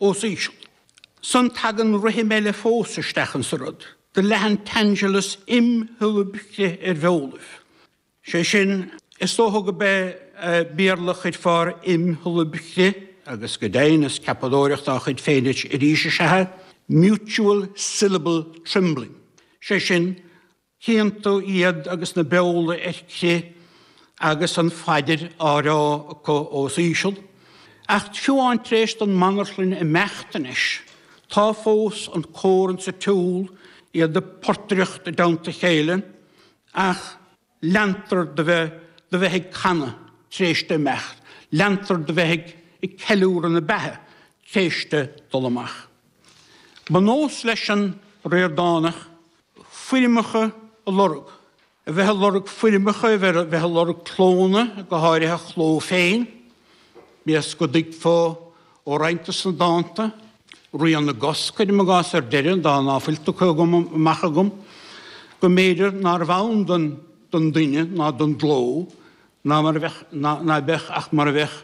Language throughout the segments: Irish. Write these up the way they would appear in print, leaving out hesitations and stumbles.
os íseal. Ansan tagann rithim eile fós isteach insa rud, do leath an t-ainsealas im shiollaib chrith ar bheolaibh. Sé sin, is dócha go b'é Béarla a chuirfeá ar im shiollaib chrith, agus go deimhin is ceapadóireacht dá chuid féin arís is ea é, mutual syllable trembling. Sé sin, Chíonn tú iad agus na beola ar crith agus an phaidir á rá acu os íseal. Ach fiú amháin tar éis don mbanarchlainn imeacht anois, tá fós an cór insa tsiúl, iad ag portaireacht i dteannta a chéile, ach leantar de bheith de bheith ag canadh tar éis di imeacht, leantar de bheith ag ceiliúradh na beatha tar éis di dul amach. Ba nós leis an Ríordánach foirmeacha a lorg, a bheith ag lorg foirmeacha, a bheith ag lorg clónna, go háirithe a chló féin, bíodh go dtuigfeá ó roinnt de sna dánta, Rian na gCos, cuirim i gcás ar deireadh, dán ná fuil tugtha agam amach agam, go mb'fhéidir nárbh ann don duine ná don gcló, ná mar a bheadh, ná beadh ach mar a bheadh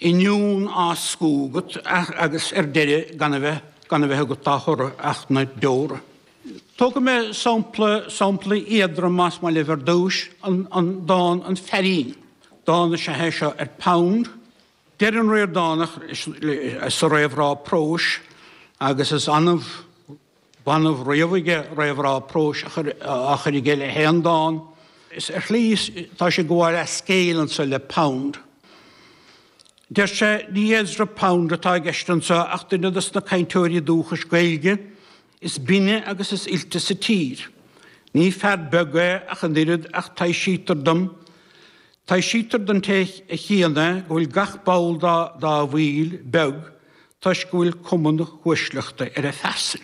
oinniún á scú agat agus ar deireadh gan a bheith, gan a bheith agat dá thoradh ach na deora. Tógfaidh mé sampla, sampla éadrom más maith libh ar dtúis, an, an dán An Feairín. Dán is ea é seo ar Pound. Deir an Ríordánach sa réamhrá próis agus is annamh, B'annamh riamh aige réamhrá próis á chur aige le haon dán. Is ar shlí tá sé ag gabháil as scéal anso le Pound. Deir sé, ní Ezra Pound atá i gceist anso ach duine dos na cainteoirí dúchais Gaeilge is binne agus is oilte sa tír. Ní fear beag é ach an oiread ach taibhsítear dom, taibhsítear don té a chíonn é go bhfuil gach ball dá bhfuil beag toisc go bhfuil cuma na huaisleachta ar a phearsain.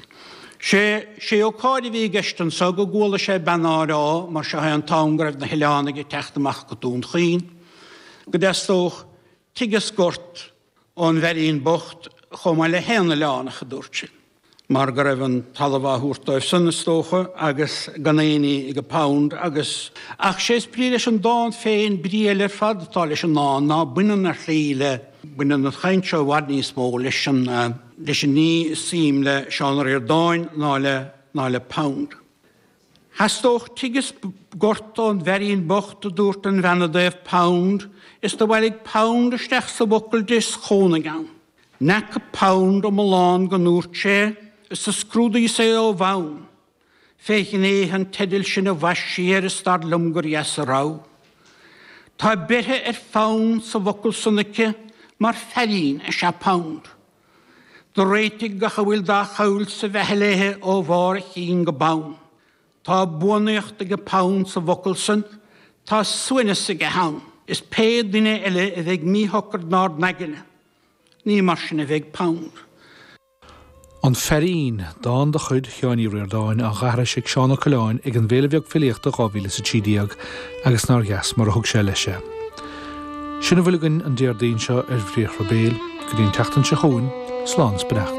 Sé, sé ócáid a bhí i gceist anso go gcuala sé bean á rá, mar seo é an t-am go raibh na hoileánaigh ag teacht amach go Dún Chaoin, go dteastódh tigh is gort ón bhfeirín bocht chomh maith le haon oileánach, a dúirt sí. mar go raibh an talamh á thabhairt dóibh san, is dócha, agus gan aon ní ag Pound agus. Ach sé is brí leis an dán féin, brí eile ar fad atá leis an ndán ná baineann ar shlí le, baineann an chaint seo i bhfad níos mó leis an, leis an ní is suim le Seán Ó Ríordáin ná le, ná le Pound. Theastódh tigh is gort ón bhfeirín bocht a dúirt an bhean i dtaobh Pound, is do bhailigh Pound isteach sa bhfocal di is chónaigh ann. N'fheaca Pound iomlán go ndúirt sé is do scrúdaíos é ó bhonn. Fé ghnéithe an teidil sin a bhaist sí air is dar liom gur dheas a rogha. Tá beirthe ar fonn sa bhfocal san aici mar feairín is ea Pound. Do réitigh gach a bhfuil dá choill sa bheatha léithe ó bharr a chinn go bonn. Tá buanaíocht ag Pound sa bhfocal san, tá suaimhneas aige ann, is pé duine eile a bheidh míshocair 'nár n-aigne, ní mar sin a bheidh Pound. An Feairín, dán de chuid Sheáin Uí Ríordáin á dh'aithris ag Seán Ó Coileáin ag an bhFéile Bheag Filíochta 2013 agus nár dheas mar a thug sé leis é. Sin a bhfuil againn an Déardaoin seo ar Bhriathra Béil. Go dtí an tseachtain seo chugainn, slán is beannacht.